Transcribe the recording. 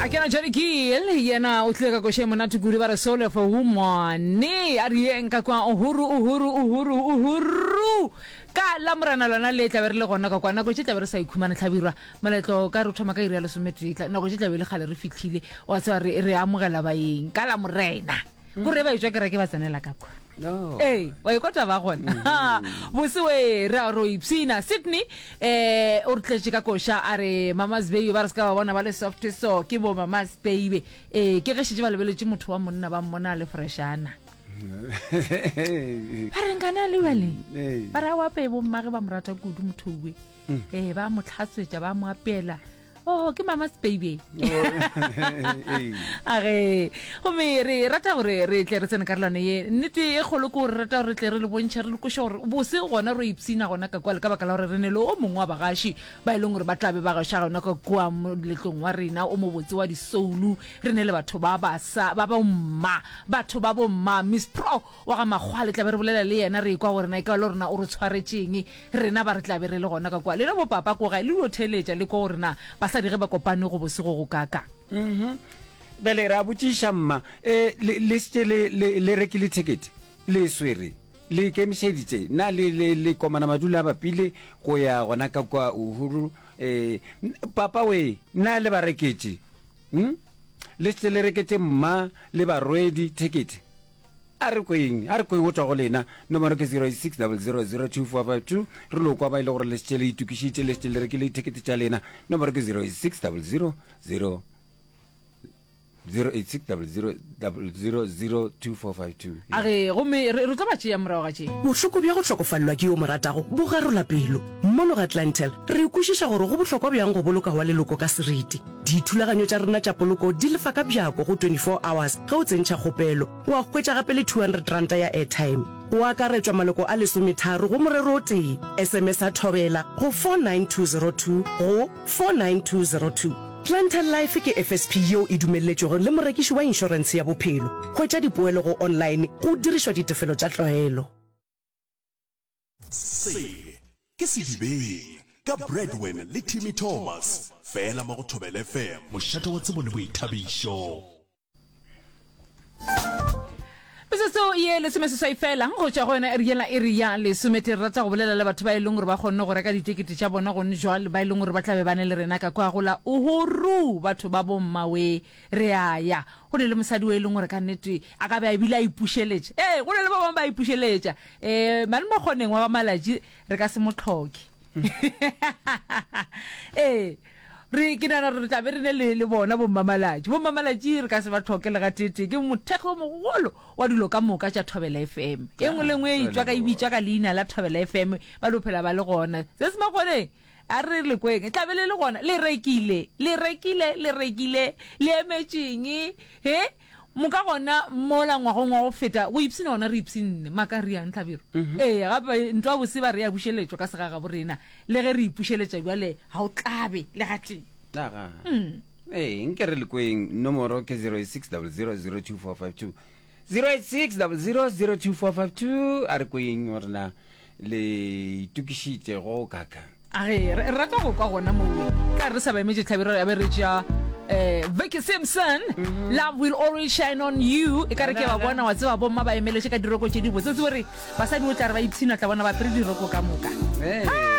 A kena Johnny Gill, yena o tlile ka koša e monate kudu ba re Soul of a Woman. A re yeng ka kwa Uhuru, Uhuru, Uhuru, Uhuru. Ka la Morena lona le tla be re le gona ka kwa nako tše tla be re sa ikhumana hlabirwa. Moletlo ka re o thoma ka iri ya lesometee, nako tše tla be e le kgale re fihlile. Wa tseba re re amogela baeng ka la Morena. Kore ba etšwa kereke ba tsenela ka kwa. No. Ee, wa ikwa taba gona. Bose we re a ro ipshina. Sydney eh o re tletše ka koša a re Mama's baby ba re se ka ba bona ba le soft so ke bo Mama's baby. Eh ke ge šetše ba lebeletše motho wa monna ba mmona a le freshana. Ba re nkana le bale. Ee. Ba re a o apeye bommage ba mo rata kudu motho we. Eh ba mo tlhatswetša ba mo apeela. Oh, ke mama's baby. A ge gomme re rata gore re tle re tsene karolwana ye. Nnete e kgolo ke gore re rata gore re tle re le bontšhe re le kweše gore bose gona ro ipshina gona ka kwa le ka baka la gore re ne le o mongwe wa bagaši ba e leng gore ba tla be ba gaša gona ka kua moletlong wa rena o mobotse wa disoulu. Re ne le batho ba basa ba bomma, batho ba bomma. Miss Pro wa ga Makgwa le tla be re bolela le yena re ekwa gore na e ka ba le gore na o re tshwaretšeng rena ba re tla be re le gona ka kwa. Lena bo papa ko gae le dio theeletša le kwa gore na basadi ge ba kopane go bose go go kaakang. Mhm. Bjale re a botšiša mma, e, le, le šetše le, le, le rekile thekete? Le e swere? Le ikemišeditše? Na le, le, le komana madula a bapile go ya gona ka kwa Uhuru? E, papa we, na le ba reketše? Hm? Le šetše le reketše mma le barwedi thekete? A re kweng, a re kweng go tšwa go lena. Nomoro ke 0860002452. Re lo kwa ba e le gore le šetše le itokišitše, le šetše le rekile dithekete tša lena. Nomoro ke 08600 08600002452. A re, gomme re, re tlo ba tšea morago ga tše. Bohloko bja go hlokofalelwa ke yo o mo ratago bo garola pelo. Mono ga Clientele, re kwešiša gore go bohlokwa bjang go boloka wa leloko ka seriti. Dithulaganyo tša rena tša poloko di lefa ka bjako go 24 hours ge o tsentšha kgopelo. Wa hwetša gape le R200 ya airtime. Go akaretšwa maloko a lesometharo go morero o tee. SMS-a Thobela go 49202 go 49202. Clientele Life ke FSP yeo e dumelletšwego le morekiši wa inšorentshe ya bophelo. Hwetša dipoelo go online go dirišwa ditefelo tša tlwaelo. Se ke Sedibeng ka Bradwin le Timmy Thomas, fela mo go Thobela FM, mošate wa tsebo le boithabišo. Metsotso ye lesomeseswai fela go tšwa go yona iri yela iri ya lesometee. Re rata go bolela le batho ba e leng gore ba kgonne go reka ditekete tša bona gone jwale, ba e leng gore ba tla be ba ne le rena ka kwa go la Uhuru. Batho ba bommawe, re a ya. Go ne le mosadi o e leng gore ka nnete a ka be a bile a ipušeletša. Ee, go ne le ba bangwe ba ipušeletša. Ee, mane Mokgoneng wa ba Malatši re ka se mo hloke. Ee, re, ke nagana gore re tla be re ne le, le bona bommamalatši. Bommamalatši re ka se ba hloke le gateetee. Ke mothekgo o mogolo wa dilo ka moka tša Thobela FM. E nngwe le nngwe e etšwa ka, e bitšwa ka leina la Thobela FM, ba no phela ba le gona. Se se Makgoneng, a re le kweng, e tla be le le gona. Le rekile, le rekile, le rekile, le emetšeng? He? Moka gona mola ngwagong wa go feta go ipshina gona re ipshinne maka riang Hlabirwa? Ee, gape ntwa bose ba re ya bušeletšwa ka segagabo rena le ge re ipušeletša bjale ga o tlabe le gatee. Aga. Ee, nke re le kweng nomoro ke 0860002452. 0860002452 a re kweng gore na le itokišitše go kaka. A re, re rata go kwa gona mowe. Ka re sa ba emetše Hlabirwa ya be re tšea eh, Vicky Simpson, Love Will Always Shine On You. E ka re ke ba bona, wa tseba bomma ba emeletše ka diroko tše dibotse. O tsebe gore basadi o tla re ba ipshina, tla bona ba apere diroko ka moka. Hey.